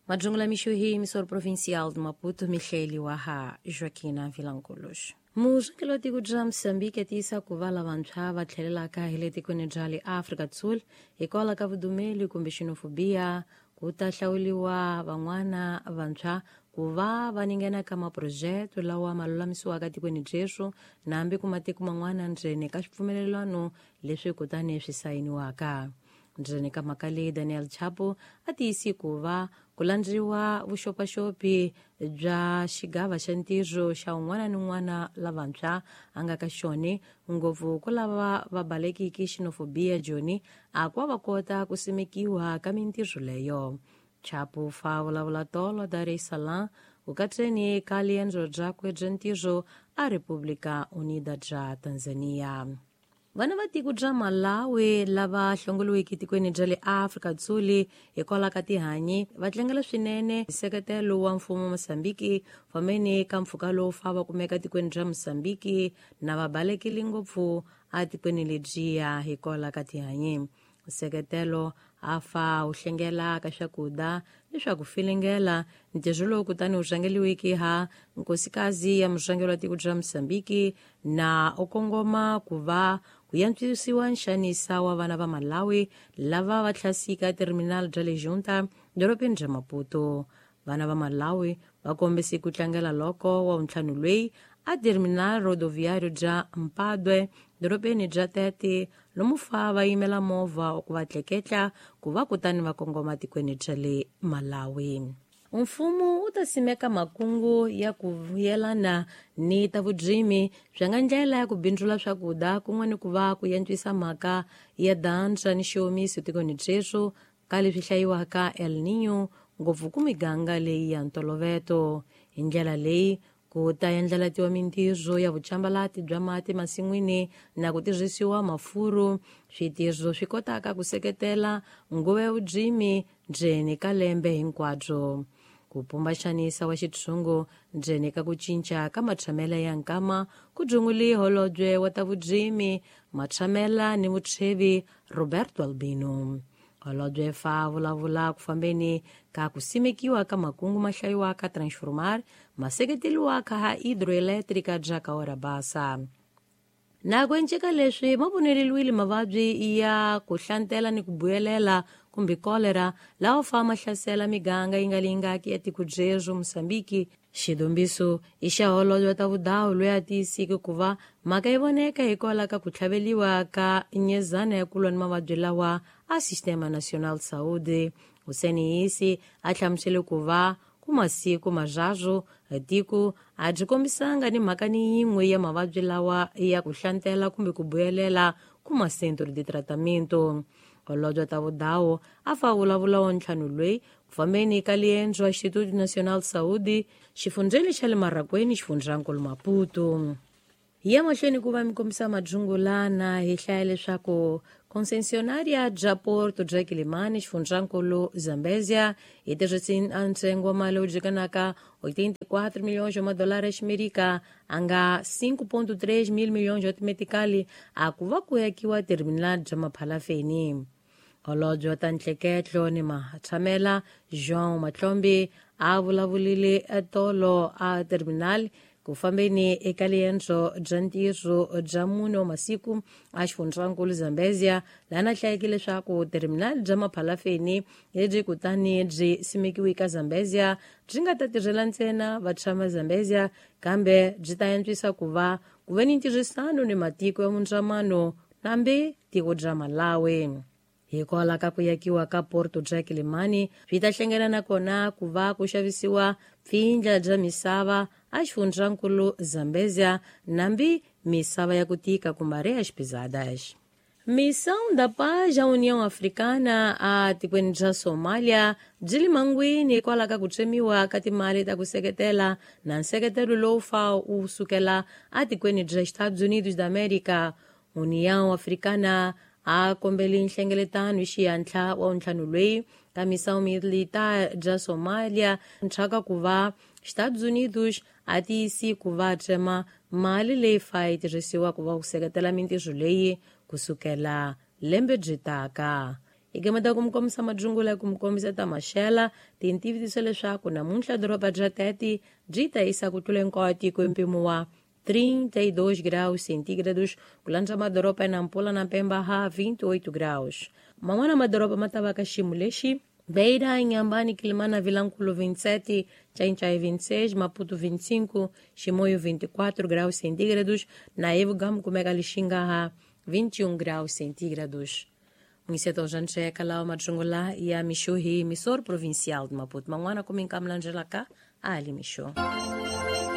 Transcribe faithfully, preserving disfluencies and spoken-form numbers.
Majungula mixo hi emissora provincial de Maputo, Michele Waha, Joaquina Vilanculos. Murhangeri wa tiko bya Mozambique tiyisa ku va lavantshwa va tlhelelaka hi le tikweni bya le Afrika Sul hikwalaho ka vudumeli kumbe xenofobia ku ta hlawuriwa van'wana vantshwa ku va va ningena ka maphurojete lawa ma lulamisiwaka tikweni byeswo na hambi ku matiko man'wana ndzeni ka swipfumelelano leswi kutani swi sayiniwaka. Ndzeni ka mhaka leyi Daniel Chapo a tiyisi ku va ku landziwa vuxopaxopi bya xigava xa ntirho xa un'wana ni un'wana lavantshwa a nga ka xona ngopfu ku lava va balekiki xenofobia joni a ku va kota ku simekiwa ka mintirho leyo. Chapo fa vulavula tolo Dar es Salaam ku katseni ka riendzo byakwe bya ntirho a República Unida bya Tanzania. Vana va tiko bya Malawi lava hlongoliweke tikweni bya le Afrika Dzuli hikwalaho ka tihanyi va tlangela swinene nseketelo wa mfumo wa Mozambique fambeni ka mpfhuka lowu fa va kumeka tikweni bya Mozambique na va balekile ngopfu etikweni lebyiya hikwalaho ka tihanyi. Nseketelo a fa wu hlengela ka swakudya ni swa ku filingela ntirho lowu kutani wu rhangeliweke ha nkosikazi ya murhangeri wa tiko bya Mozambique na u kongoma ku va ku yantswisiwa nxanisa wa vana va Malawi lava va hlasika terminal bya le Junta dorobeni bya Maputo. Vana va Malawi va kombise ku tlangela loko wa ntlhanu loyi a terminal rodoviário bya Mpadwe dorobeni bya Tete lomu fa va yimela movha ku va tleketla ku va kutani va kongoma tikweni bya le Malawi. Mfumo wu ta simeka makungu ya ku vuyelana ni ta vurimi bya nga ndlela ya ku bindzula swakudya kun'we ni ku va ku yantswisa mhaka ya dansa ni xiomiso tikweni byeswo ka leswi hlayiwaka El Niño ngopfu ku miganga leyi ya ntoloveto. Hi ndlela leyi ku ta endlelatiwa mintirho ya vucambalati bya mati masin'wini na ku tirhisiwa mafuru switirho swi kotaka ku seketela nguva ya vurimi ndzeni ka lembe hinkwabyo. Ku pumba xanisa wa xitshungu ndzeni ka ku cinca ka matshamela ya nkama ku dzunguli holobye wa ta vurimi matshamela ni mutshwevi Roberto Albino. Holobye fa vulavula ku fambeni ka ku simekiwa ka makungu ma hlayiwaka transformar ma seketeriwaka ha hidroelétrica bya Cahora Bassa. Na ku enceka leswi ma voneleliwile mavabyi ya ku hlantela ni ku buyelela kumbe kolera lawa fa ma hlasela miganga yi nga lingaki ya tiko byerhu Mozambique. Xidombiso i xa holobye wa ta vudawu loyi a tiyisike ku va mhaka yi voneka hikwalaho ka ku tlhaveliwa ka nyezana ya ku lwa ni mavabyi lawa a Sistema Nacional de Saúde. Hussein Isi a hlamusele ku va ku masiku marharhu tiko a byi kombisanga ni mhaka ni yin'we ya mavabyi lawa ya ku hlantela kumbe ku buyelela ku macentro de tratamento. Holobye wa ta vudawu a fa vulavula wa ntlhanu loyi ku fambeni ka liendzo a Instituto Nacional de Saúde xifundzheni xa le Marracuene xifundzankulu Maputo. Hi ya mahlweni ku va mi kombisa madzungulana hi hlaya leswaku concessionaria bya Porto bya Quelimane xifundzankulu Zambezia hi tirhise ntsengo wa mali wu dyikanaka oitenta e quatro milhões de madolara ximerika a nga cinco ponto três mil milhões de meticali a ku va ku yakiwa terminal bya Maphalafeni. Holobye wa ta ntleketlo ni matshamela João Matlombe a vulavulile tolo a terminal ku fambeni eka liendzo bya ntirho bya mune wa masiku a xifundzankulu Zambezia laha na hlayeke leswaku terminal bya Maphalafeni lebyi kutani byi simekiwe ka Zambezia byi nga ta tirhela ntsena vatshama Zambezia kambe byi ta antswisa ku va ku ve ni ntirhisano ni matiko ya mundzamano nambi tiko bya Malawi. Hikwalaho ka ku yakiwa ka Porto bya Quelimane swi ta hlengela na kona ku va ku xavisiwa pfindla bya misava a xifundzankulu Zambezia nambi misava ya ku tika kumbe areias pisadas. Missão da Paz à União Africana a tikweni bya Somalia byi le mangwini hikwalaho ka ku tsemiwa ka timali ta ku seketela na nseketelo lowu fa wu sukela etikweni bya Estados Unidos da América. União Africana a kombeli nhlengeletano hi xiyantlha wa ntlhanu loyi ka missão militar bya Somalia nxaka ku va Estados Unidos a tiyisi ku va tsema mali leyi fa yi tirhisiwa ku va ku seketela mintirho leyi kusukela lembe byi taka. Hi gameta ku mi kombisa madzungula ku mi kombisa ta maxela tintivitiso leswaku namuntlha doroba bya Tete byi ta yisa ku tlula hinkwawo tiko hi mpimo wa trinta e dois graus centígrados, ku landza madoroba ya Nampula na Pemba ha vinte e oito graus. Man'wana madoroba ma ta va ka xiyimo lexi: Beira, Inhambane, Quilimana, Vilankulo vinte e sete, Xai-Xai vinte e seis, Maputo vinte e cinco, Chimoio vinte e quatro graus centígrados, na Evo kumeka Lixinga ha vinte e um graus centígrados. Mwiseto jancheka lao madzungula ya mixo hi emissor provincial de Maputo. Man'wana kuminkamlanjelaka ali mixo.